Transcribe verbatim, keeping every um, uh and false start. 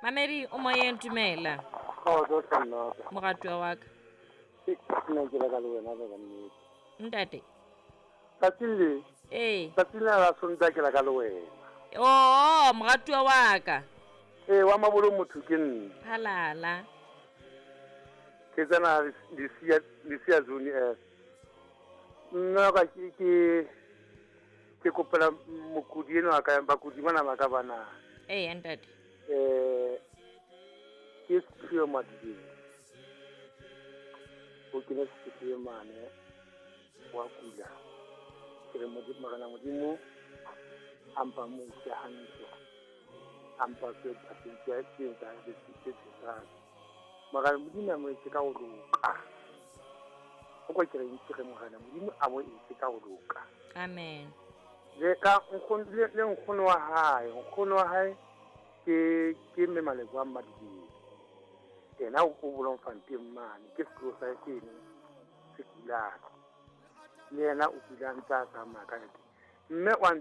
Mamedi o moyeng, dumela. Kgotso hle nnaka. Moratuwa wa ka. Nna ke la ka le wena ka nnete. Ntate. Tsatsing le. Ee. Tsatsing la la Sontaha ke la ka le wena. Oo, moratuwa wa ka. Ee, wa mabolo motho ke nna. Halala. Ke tsena Lesia Lesia zone F. Nna ka ke ke ke kopela mokudi enwa ka bakudi bana ba ka bana. Ee, ntate. Eh ke Siphiwe Madibeng. O kene sepetlele mane wa kula. Ke re Modimo Morena Modimo a mpa mo ise hantle. A mpa tse tse tse tse tse tse tse. Morena Modimo a mo etse ka ho loka. O kwa ke reng ke re Morena Modimo a mo etse ka ho loka. Amen. Le ka nkgono le le nkgono wa hae, nkgono wa hae ke ke mme Malebo a Madibeng. Yena o Bloemfontein mane ke sekolo sa hae seno se kulang. Le yena o kula a ntse a tsamaya ka nnete. Mme wa